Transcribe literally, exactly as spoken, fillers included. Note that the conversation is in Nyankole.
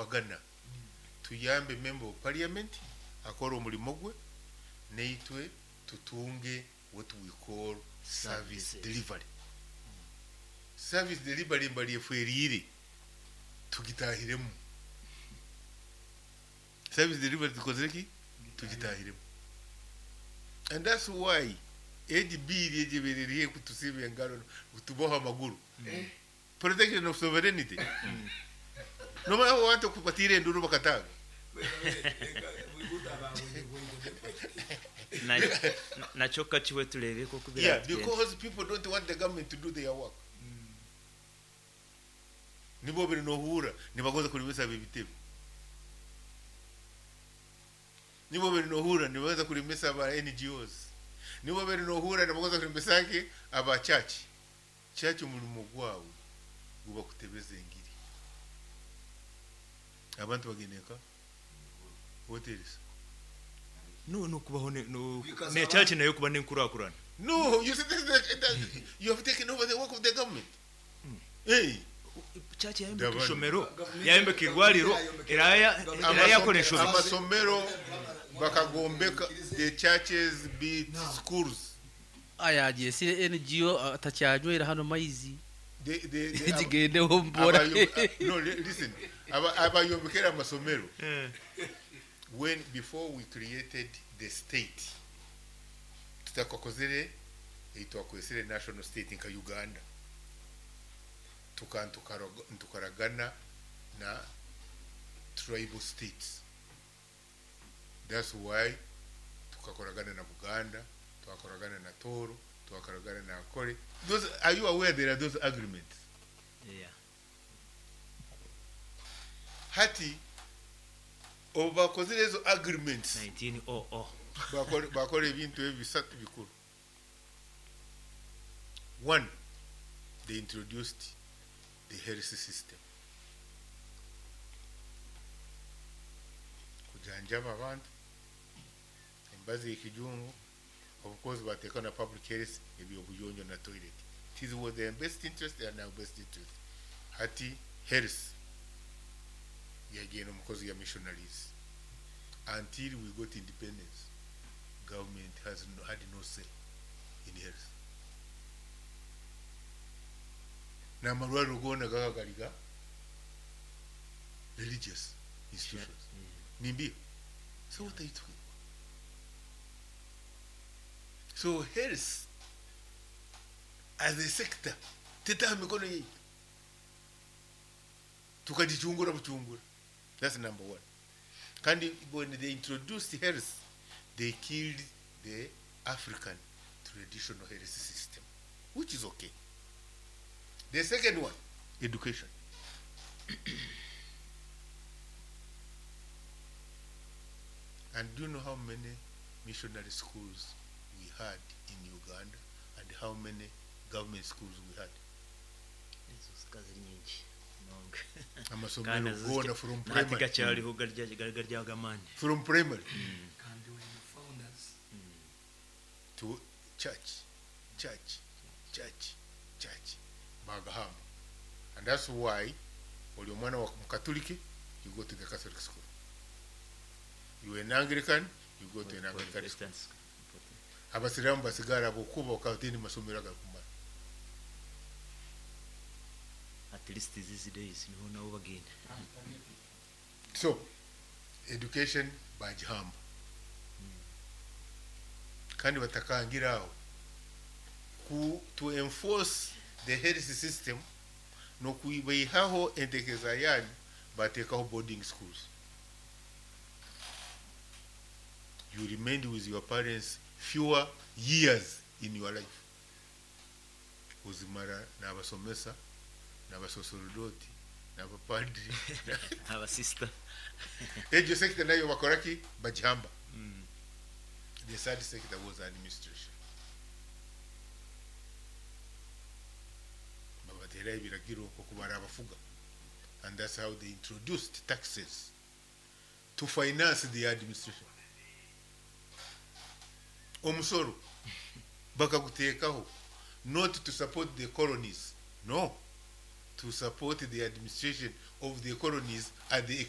Kuyambagana, tuyambe member of parliament akore omurimo gwe, naitwe tutunge what we call service Services. delivery. Service delivery mbali efweriire tugitahiremu. Service delivery tukozere ki? Tugitahiremu. And that's why egi bill egyebereriye kutusiba engaro, kutuboha amaguru, protection of sovereignty. Nomanya abantu kubatiira enduru bakataaga. Na- nakyo kakiwe tureebe oku Yeah, biratugenda. because people don't want the government to do their work. Nibo biri nohura nibagonza kulimisa ebitebe. Nibo biri nohura nibagonza kulimisa aba N G Os. Nibo biri nohura nibagonza kulimisa ki aba church. Church omurimo gwawe guba kutebeza engiri. Abantu bagendeka hotels. No, nokubaho ne- no- Kwikaza ne abantu. church nayo kuba nenkurakurana. No, you see, this is the, that, you have taken over the work of the government. Hey. Church yayombeka Ndabona. ishomero, Gavumenti- yayombeka irwariro, yayombeka- eraya Gavumenti- eraya yakora enshobi. Amasomero bakagombeka, the churches built schools. Ayagyesire N G O atakyanywera hano maizi. The, the, the, zigendeho mbora. abayo- no, li- listen, Aba- abayombekera amasomero, Eh. when before we created the state, tutakakozere twakwesere national state nka Uganda, tuka ntukaroga- ntukaragana na tribal states. That's why tukakoragana na Buganda, twakoragana na Toro, twakoragana na Akore. Those, are you aware there are those agreements? Yeah. Hati obu bakozire ezo agreements, nineteen hundred. bakora bakora ebintu ebi bisatu bikuru. One, they introduced the health system, kujanjaba abantu embazi y'ekijungu. Of course bateeka na public health, ebyobuyonjo na toilet. It is was their best interest and our best interest. Hati health yagenda omukozi ya missionaries until we got independence. Government has no, had no say in health. N'amalwaliro goona gaba gali ga religious institutions. Nimbi, so what are you talking about? So health as a sector tetaha mikono yaitu, tukagichungura buchungura. That's number one. Kandi when they introduced health, they killed the African traditional health system, which is okay. The second one, education. And do you know how many missionary schools we had in Uganda and how many government schools we had? Ezo zikaba ziri nyingi nonga. Amasomero Kandi nazo goona zikya- from nahati primary. gakyariho garya garyaga amaani. From primary Kandi we the founders. To church, church, church, church. Bagahamba. And that's why oli omwana wa Mukatoliki, you go to the Catholic school. You an Anglican, you go to an Anglican school. Protestants. Abasiraamu basigara bokuba okatini masomero agakumara. At least these days niho nabo bagenda. So education bagihamba. Kandi batakangira aho ku to enforce the health system n'okubaihaho entekereza yanyu, bateekaho boarding schools. You remained with your parents fewer years in your life. Ozimara n'abasomesa n'abasosorodoti n'abapadiri. Abasista. Egyo sector nayo bakora ki? Bagihamba. The third sector was administration. Babatera ebiragiro okubara abafuga, and that's how they introduced taxes to finance the administration. Omusoro bakaguteekaho not to support the colonies, no, to support the administration of the colonies at the